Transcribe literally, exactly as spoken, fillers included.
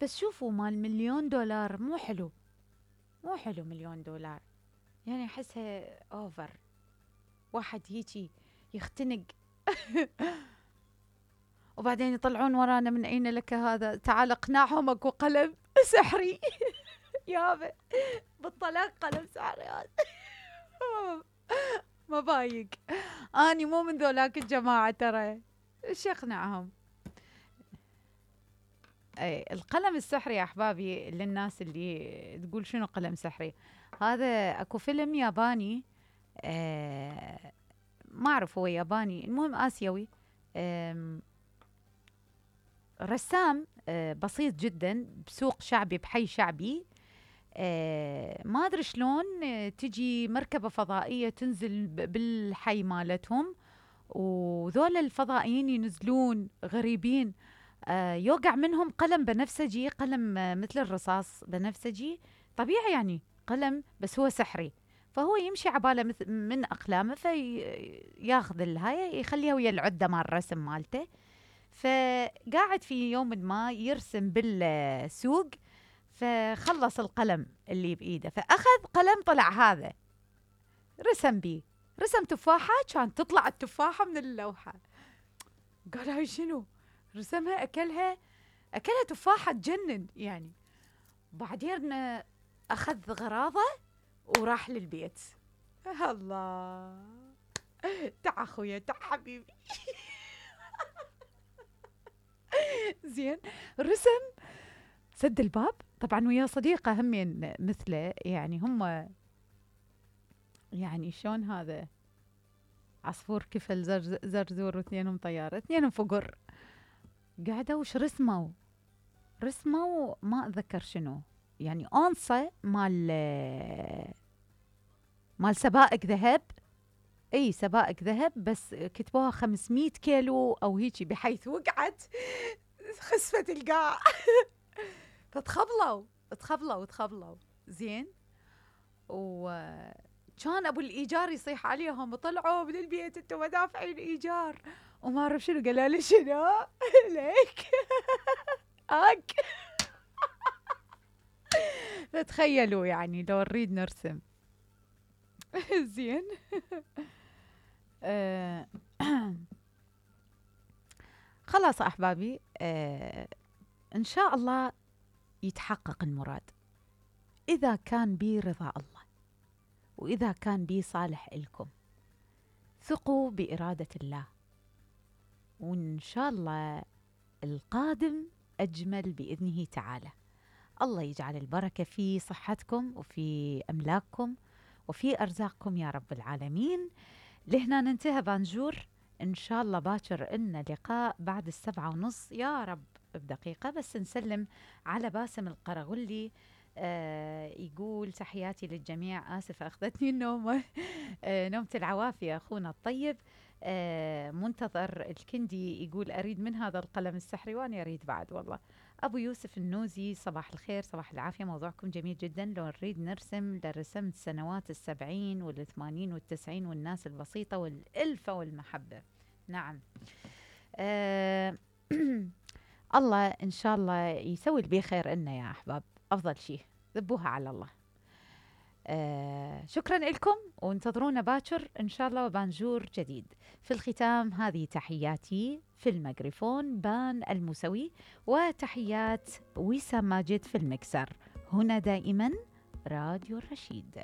بس شوفوا مال مليون دولار مو حلو، مو حلو مليون دولار، يعني أحسها أوفر، واحد هيجي يختنق وبعدين يطلعون ورانا من أين لك هذا، تعال اقنعهم اكو قلم سحري يابا بالطلاق قلم سحري هذا ما بايق. اني مو من ذولاك الجماعة ترى، ايش اقنعهم؟ اي القلم السحري يا احبابي، للناس اللي تقول شنو قلم سحري، هذا اكو فيلم ياباني، آه ما اعرف هو ياباني، المهم اسيوي، رسام آه بسيط جدا بسوق شعبي بحي شعبي، آه ما ادري شلون آه تجي مركبة فضائية تنزل بالحي مالتهم، وذول الفضائيين ينزلون غريبين، آه يوقع منهم قلم بنفسجي، قلم آه مثل الرصاص بنفسجي طبيعي يعني قلم، بس هو سحري، فهو يمشي عباله مثل من اقلامه فياخذ الهاي يخليها ويا العده مال الرسم مالته، فقاعد في يوم ما يرسم بالسوق، فخلص القلم اللي بإيده، فأخذ قلم طلع هذا رسم بيه، رسم تفاحة كانت تطلع التفاحة من اللوحة، قال هاي شنو؟ رسمها أكلها، أكلها تفاحة تجنن يعني. بعدين أخذ غراضه وراح للبيت. الله، تعا أخويا تعا حبيبي زين رسم، سد الباب طبعا ويا صديقة همين مثله، يعني هم يعني شلون هذا عصفور كفل زرز زرزور واثنينهم طيارة، اثنينهم فقر، قعدوا وش رسموا؟ رسموا ما أتذكر شنو، يعني أنصة مال مال سبائك ذهب، اي سبائك ذهب، بس كتبوها خمسمية كيلو او هيجي، بحيث وقعت خسفت القاع فتخبلوا تخبلوا تخبلوا زين، وكان ابو الايجار يصيح عليهم، وطلعوا من البيت انتم ما دافعين ايجار وما اعرف شنو، قال لي شنو ليك هاك فتخيلوا يعني لو نريد نرسم زين آه خلاص احبابي، آه ان شاء الله يتحقق المراد، اذا كان بي رضا الله، واذا كان بي صالح لكم، ثقوا بإرادة الله، وإن شاء الله القادم أجمل بإذنه تعالى. الله يجعل البركة في صحتكم وفي أملاككم وفي أرزاقكم يا رب العالمين. لهنا ننتهى بانجور، إن شاء الله باكر إلنا لقاء بعد السبعة ونص يا رب بدقيقة، بس نسلم على باسم القرغلي، آه يقول تحياتي للجميع، آسفة أخذتني النومة آه نومة العوافي أخونا الطيب، آه منتظر الكندي يقول أريد من هذا القلم السحري، وأنا أريد بعد والله. أبو يوسف النوزي صباح الخير صباح العافية، موضوعكم جميل جدا، لو نريد نرسم لرسمت سنوات السبعين والثمانين والتسعين والناس البسيطة والألفة والمحبة. نعم آه الله إن شاء الله يسوي البي خير إلنا يا أحباب، أفضل شيء ذبوها على الله. آه شكرا لكم، وانتظرونا باكر إن شاء الله وبانجور جديد. في الختام هذه تحياتي في الميكروفون بان الموسوي، وتحيات وسام ماجد في المكسر، هنا دائما راديو الرشيد.